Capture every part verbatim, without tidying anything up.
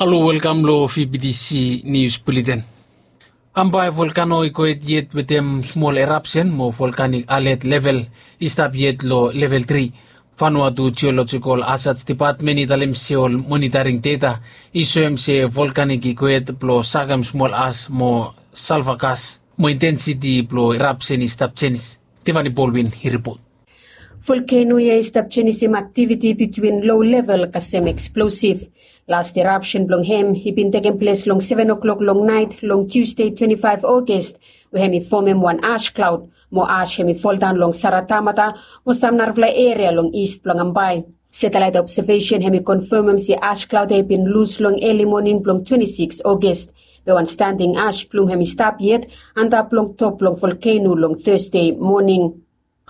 Halo, welkam long V B T C News Bulletin. Ambae volkano i go hed yet wetem smol erapsen mo volkanik alet level i stap yet long level tri. Vanuatu Geological Hazards Department i talem se ol monitoring data i soem se volkanik i go hed blong sakem smol as mo salva gas mo intensiti blong erapsen i stap jenis. Tiffany Baldwin i ripot. Volkeno ya i stap jenisim aktiviti bitwin low level kasem eksplosiv. Las erapsen blong hem i bin tekem ples long seven o'clock long naet long Tuesday twenty five August, we hem i fomem wan ash klaod mo ash hem i foldaon long Saratamata mo sam narafala eria long ist blong Ambae. Satelait obsevesen hem i konfemem se ash klaod ya i bin lus long eli moning blong twenty six August, be wan standing ash plum hem i stap yet antap long top blong volkeno long Thursday moning.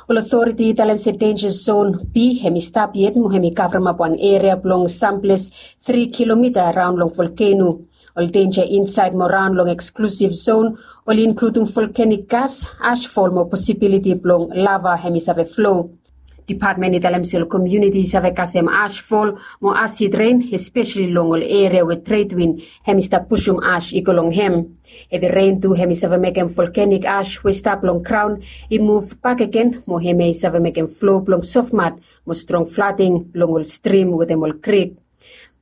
Ol otoriti i talem se denja zon B hem i stap yet mo hem i kavremap wan eria blong samples tri kilomita raon long volkeno. Ol denja insaed mo raon long eksklusiv zon oli inkludim volkanik gas, ashfol mo posibiliti blong lava hem i save flo. Depatmen i talem se ol komuniti i save kasem ashfol mo asid ren, espeseli long ol eria we tredwin hem i stap pusum ash i go long hem. Hevi ren tu hem i save mekem volkanik ash we i stap long graon i muv bakegen mo hemia i save mekem flo blong sofmat mo strong flading long ol strim wetem ol krik.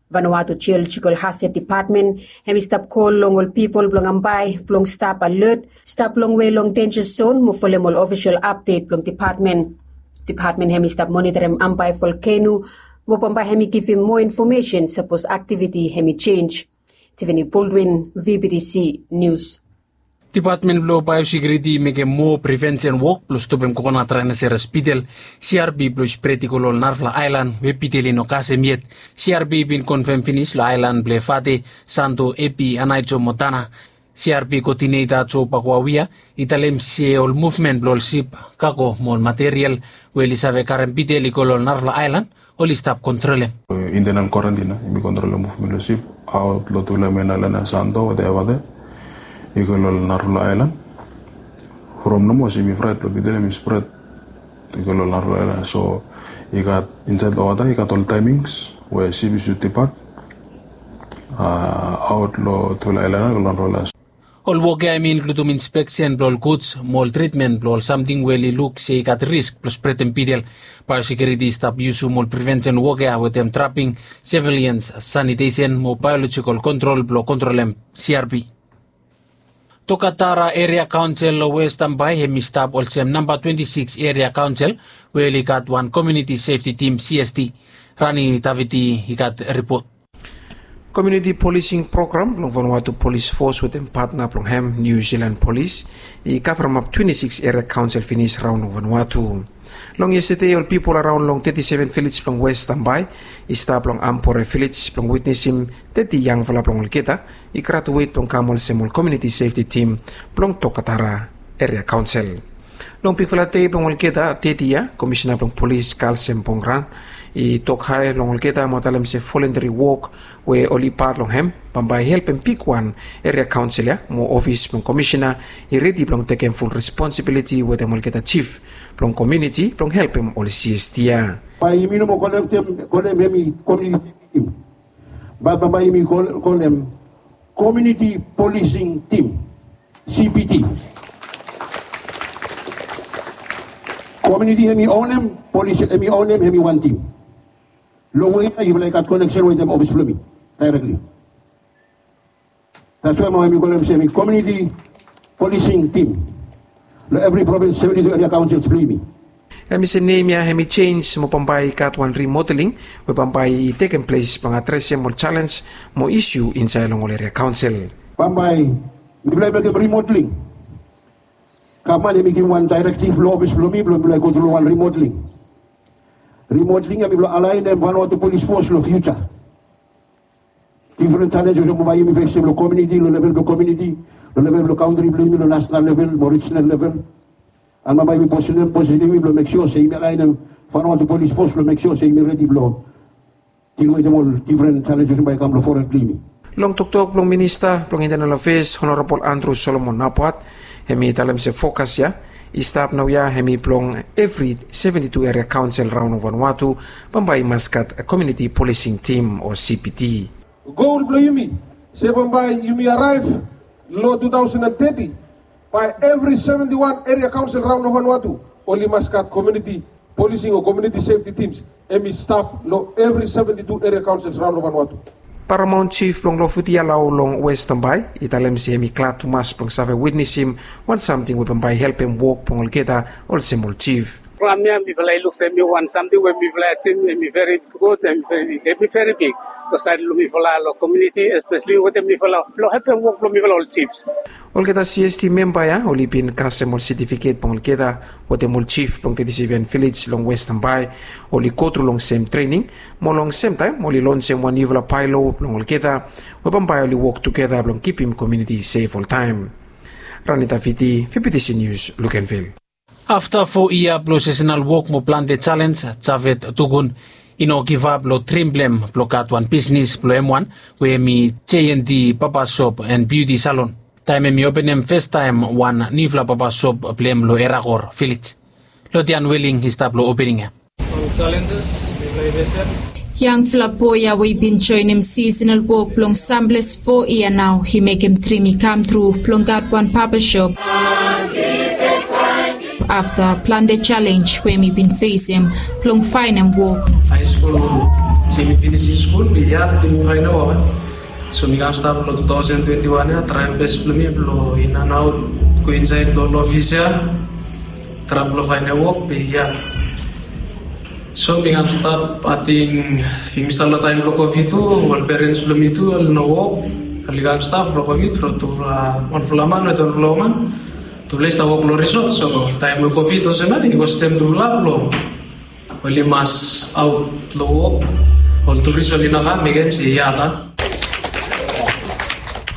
Vanuatu Geological Hazard Department hem i stap kol long ol pipol blong Ambae blong stap alot, stap longwe long denja zon mo folem ol ofisol apdet blong depatmen. Depatmen hem i stap monitorem Ambae volkeno mo bambae hem i givim moa infomesen sapos aktiviti hem i jenj. Tiffany Baldwin, V B T C News. Depatmen blong baeosekiuriti i mekem moa prevensen wok blong stopem kokonat raenaseras bidel, C R B, blong i spret i go long ol narafala aelan we bidel i no kasem yet. C R B i bin konfem finis long aelan blong Efate, Santo, Epi, Anaijo mo Tana. C R B koodineta Jo Bakuawia i talem se ol muvmen blong ol sip, kago mo ol material we oli save karem bidel i go long ol narafala aelan oli stap kontrolem. Intenal kwarantin ya hemi kontrolem muvmen blong sip aot long tufala mein aelan ya, Santo wetem Efate, i go long ol narafala aelan. From nomo hemi fraet blong bidel hemi spret i go long ol narafala aelan ya. So i gat insaed long wota i gat ol taemings we sip i sud dipat aot long tufala aelan ya go long narafala aelan ya. Ol wok ya hemi inkludim inspeksen blong ol guds mo ol tritmen blong ol samting we oli luk se i gat risk blong spretem bidel. Baeosekiuriti i stap yusum ol prevensen wok ya wetem traping, sevilians sanitesen mo baeolojikal kontrol blong kontrolem C R B. Tokatara Eria Kaonsel long West Ambae hemi stap olsem namba twenti sikis Eria Kaonsel we oli gat wan Komuniti Sefti Tim, C S T. Rani Davidi i gat ripot. Komuniti polising program blong Vanuatu Polis Fos wetem patna blong hem, Niu Silan Polis, i kavremap twenti sikis eria kaonsel finis raon long Vanuatu. Long yestade ol pipol araon long teti seven vilej blong West Ambae i stap long Ampore Vilej blong witnesim teti yangfala blong olgeta i gratuet blong kam olsem ol komuniti sefti tim blong Tokatara eria kaonsel. Long bigfala dei blong olgeta teti ya, Komisena blong Polis Kalsem Pongran i tok hae long olgeta mo talem se volunteri wok we oli pat long hem bambae i helpem bigwan eria kaonsel ya mo ofis blong komisena i redi blong tekem ful responsibiliti wetem olgeta jif blong komuniti blong helpem ol C S T ya. Bae yumi no moa kolem, kolem hemi komuniti tim. Bae bambae yumi kolem komuniti polising tim, C P T. Komuniti hemi onem, polis hemi onem, hemi wan tim. Long we ya yufala i gat koneksen wetem ofis blong mi daerekli. That's why nao hemi kolem se hemi komuniti polising tim long evri provins, seventi tu eria kaonsels blong yumi. Hemi se nem ya hemi jenj mo bambae i gat wan rimodeling we bambae i tekem ples blong adresem ol jalenj mo isu insaed long ol eria kaonsel. Bambae mifala i mekem rimodeling. Gavman hemi givim wan daerektiv long ofis blong mi blong mifala i go tru long wan rimodeling. Rimodeling ya mifala alaenem Vanuatu Polis Fos long fiuja. Difren jalenj olsem bambae yumi fesem long komuniti, long level blong komuniti, long level blong kantri blong yumi, long nasenal level mo rijinal level. An bambae yumi posisenem, posisenem yumi blong mek sua se yumi alaenem Vanuatu Polis Fos blong mek sua se yumi redi blong dil wetem ol difren jalenj olsem bae i kam long fored blong yumi. Long toktok blong Minista blong Intenal Afeas, Honorabol Andrew Solomon Napat, hemi talem se fokas ya i stap naoia hemi blong evri seventi tu eria kaonsel raon long Vanuatu bambae i mas gat komuniti polising tim o C P T. Gol blong yumi se bambae yumi araev long two thousand and thirty, bae evri seventy one eria kaonsel raon long Vanuatu oli mas gat komuniti polising o komuniti sefti tims. Hem i stap long evri seventy two eria kaonsels raon long Vanuatu. Paramount Chief blong Lofuti Alau long West Tambai i talem se hem i glad tumas blong save witnesim wan samting we bambae i helpem wok blong olgeta olsem ol chief. From ya mifala i luk se hem i wan samting we mifala i achievem hem i veri gud, hem i veri big. Long saed blong mifala long komuniti, espeseli wetem mifala long helpem wok blong mifala ol chiefs. Olgeta C S T memba ya oli bin kasem ol setifiket blong olgeta wetem ol chief blong teti seven vilej long West Tambai. Oli gotru long sem trening mo long semtaem oli lonsem wan niufala baelo blong olgeta we bambae oli wok tugeta blong kipim komuniti sef oltaem. Ranita Viti, V B T C News, Luganville. Afta fo yia blong sesenal wok mo plante jalenj, Javed Tugun i no givap long drim blong hem blong gat wan bisnis blong hem wan we hem i J and D Barber Shop and Beauty Salon. Taem hem i openem festaem wan niufala barber shop blong hem long Erakor Vilej. Lodian Weling i stap long opening ya. Yangfala boe ya we i bin joenem sisenal wok blong samples fo yia nao i mekem drim i kamtru blong gat wan babashop afta plante jalenj we mi bin fesem blong faenem wok. Haeskul, se mi finisim skul mi yat mi faenem wok. So mi kam stap long two thousand twenty one ya, traem bes blong mi blong in and aot, go insaed long ofis ya, traem blong faenem wok be ya. So mi kam stap, ating yumi stap long taem blong Covid tu, ol perens blong mi tu oli no wok. Oli kam stap long Covid from tufala, wanfala man wetem wanfala woman. Tufala i stap wok long risot, so taem we Covid olsem ya i kostem tufala blong oli mas aot long wok. Ol turis oli no kam, mekem se yia ta.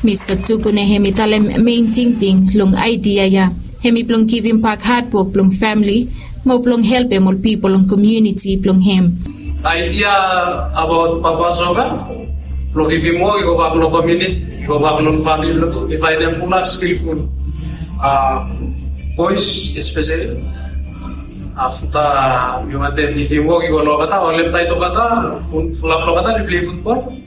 Mista Tukune hem i talem mein tingting long aedia ya hem i blong givimbak hadwok blong famle mo blong helpem ol pipol long komuniti blong hem. Aedia abaot Papa Soka blong givim wok i go bak long komuniti, i go bak long famle blong tu, i faenem fulap skilful boes espeseli. Afta mi wantem givim wok i go long olgeta, ol hem taet olgeta, fulap long olgeta oli plei futbol.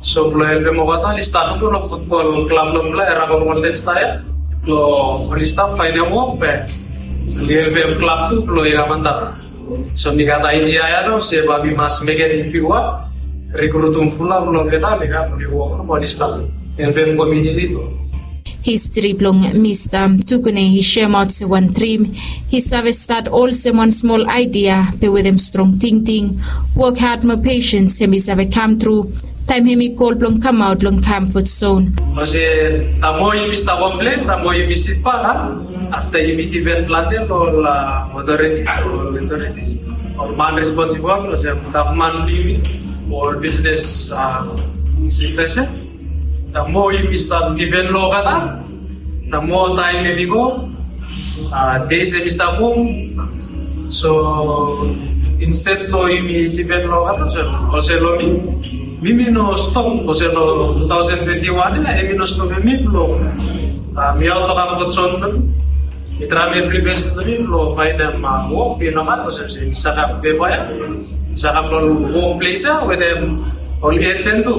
So blong helpem olgeta oli stat tu long futbol klab blong mifala, Erakor Golden Star ya. Blong oli stap faenem wok be oli helpem klab tu blong i kam antap. So mi gat aedia ya nao se bae mi mas mekem bigwan, rikrutum fulap long olgeta oli kam oli wok mo oli stap helpem komuniti tu. Histri blong Mista Tukune i semaot se wan drim i save stat olsem wan smol aedia be wetem strong tingting, wok had mo pesens hem i save kamtru taem hem i gol blong kamaot long kamfot zon. Olsem, taem moa yumi stap komplen, taem moa yumi sitbak, a? Afta yumi dipen plante long ol otoritis, ol otoritis, ol man responsibol, olsem gavman blong yumi, ol bisnes sekta, taem moa yumi stap dipen long olgeta, taem moa taem hem i go, a, dei hem i stap go. So insted blong yumi dipen long olgeta, olsem long mi, mi mi no stop olsem long two thousand twenty one ya, hem i no stopem mi blong, a, mi aot long kamfot zon blong mi. Mi traem evri bes blong mi blong faenem wok, i no matter olsem se mi save gat pepa ya, mi save gat long wok ples ya wetem ol ejen tu.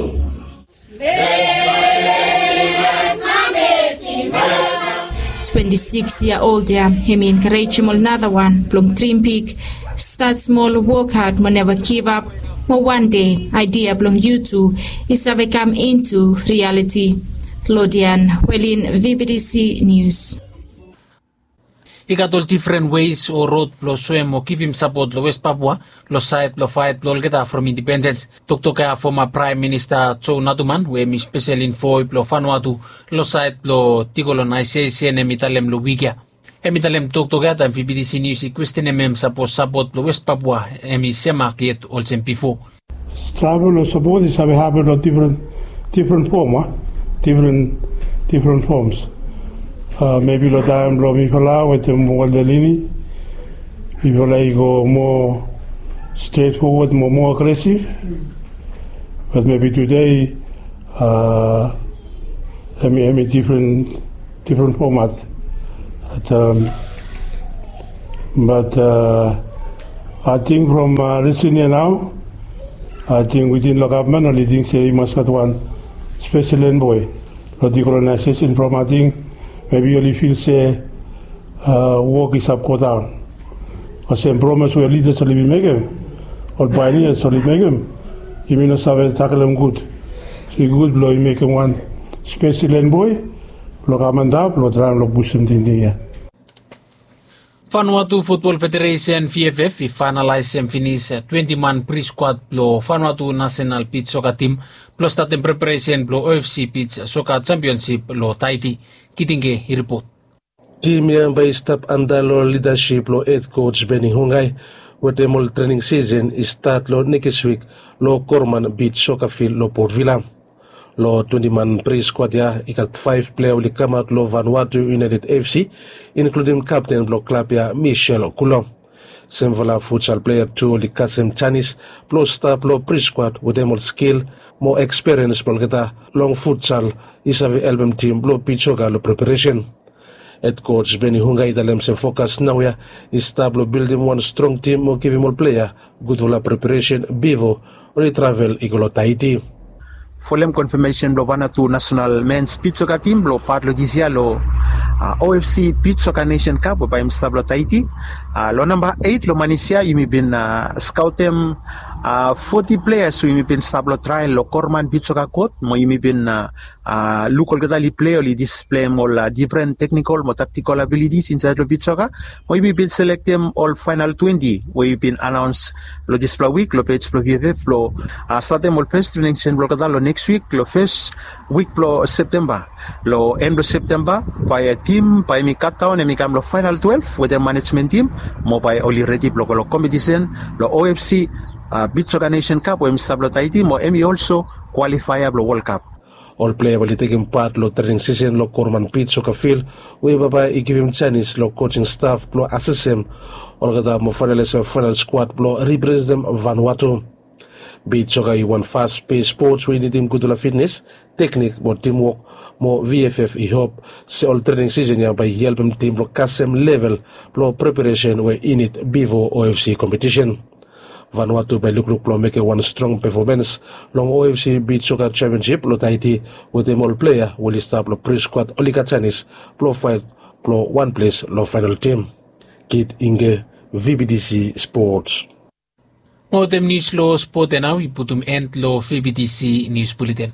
Twenti sikis yia old ya, hem i enkarejem ol nara wan blong drim big, stat smol, wok had mo neva givap, mo wan dei aedia blong yu tu i save kam intu rialiti. Lodian Welin, V B T C Nius. I gat ol difren weis o rod blong soem o givim sapot long West Papua long saed blong faet blong olgeta from indipendens. Toktok ya foma Praem Minista Joe Naduman, we hem i spesel envoe blong Vanuatu long saed blong dikolonaesesen, hem i talem long wik ya. Hem i talem toktok ya taem V B T C Nius i kwestenem hem sapos sapot blong West Papua hem i semak yet olsem bifo. Travel o sapot i save hapen long difren, difren fom, a? Difren, difren foms. A, mebi long taem blong mifala wetem Walter Lini, mifala i go moa stret fowod, moa, moa agresif. Bat mebi tude, a, hem i, hem i difren, difren fomat. Bat, a, bat, a, ating from, a, risen ya nao, Ating witin lo gavman oli ting se i mas gat wan spesel enboi lo dikolonaisesen from ating mebi oli fil se wok i save godaon. Olsem promes we lidas oli bin mekem, ol painias oli mekem, yumi no save taklem gud. So i gud blong i mekem wan spesel enboi blong kam antap blong traem long busum tingting ya. Vanuatu Futbol Federesen, V F F, i faenalaesem finis twenti man priskwad blong Vanuatu nasenal bij soka tim blong statem preparesen blong O F C bij soka jampionsip long Taiti. Kitinge i ripot. Tim ya bae i stap anda long lidasip blong hed koj Beni Hungai, wetem ol trening sisen i stat long nekis wik long Korman bij soka fil long Port Vila. Long twenti man priskwad ya i gat faef plea oli kamaot long Vanuatu United F C, inkludim kapten blong klab ya, Michel Kulo. Semfala futsal plea tu oli kasem janis blong stap long priskwad wetem ol skil mo ekspiriens blong olgeta long futsal i save helpem tim blong bij soka long preparesen. Hed koj Beni Hungai i talem se fokas naoia i stap long bildim wan strong tim mo givim ol plea gudfala preparesen bifo oli travel i go long Taiti. Folem konfamesen blong Vanuatu nasenal mens bij soka tim blong pat long disia long O F C bij soka nesen kap we bae i stap long Taiti. Long namba eit long manis ya yumi bin skaotem foti pleas we yumi bin stap long trael long Korman bij soka kot mo yumi bin luk olgeta oli plei oli displeim ol difren teknikol mo taktikol abilitis insaed long bij soka. Mo yumi bin selektem ol faenal twenti we i bin anaons long dispela wik long pej blong V F F blong statem ol fes trening sesen blong olgeta long neks wik long fes wik blong Septemba. Long en blong Septemba bae tim bae yumi katdaon yumi kam long faenal twelef wetem manejmen tim mo bae oli redi blong go long kompetisen long O F C bij soka nesen kap we yumi stap long Taiti mo em i olso kwalifaea blong Wol Kap. Ol plea we oli tekem pat long trening sisen long Korman bij soka fil we bambae i givim janis long kojing staf blong asesem olgeta mo faenalaesem faenal skwad blong representem Vanuatu. Bij soka i wan fas pes spots we i nidim gudfala fitnes, teknik mo timwok mo V F F i hop se ol trening sisen ya bae i helpem tim blong kasem level blong preparesen we i nid bifo O F C kompetisen. Vanuatu bae i lukluk blong mekem wan strong pefomens long O F C bij soka jampionsip long Taiti wetem ol plea we oli stap long priskwad oli gat janis blong faet blong wan ples long faenal tim. Kit Inge, V B T C Spots. Mo wetem nius long spot ya nao i putum en long V B T C nius buleten.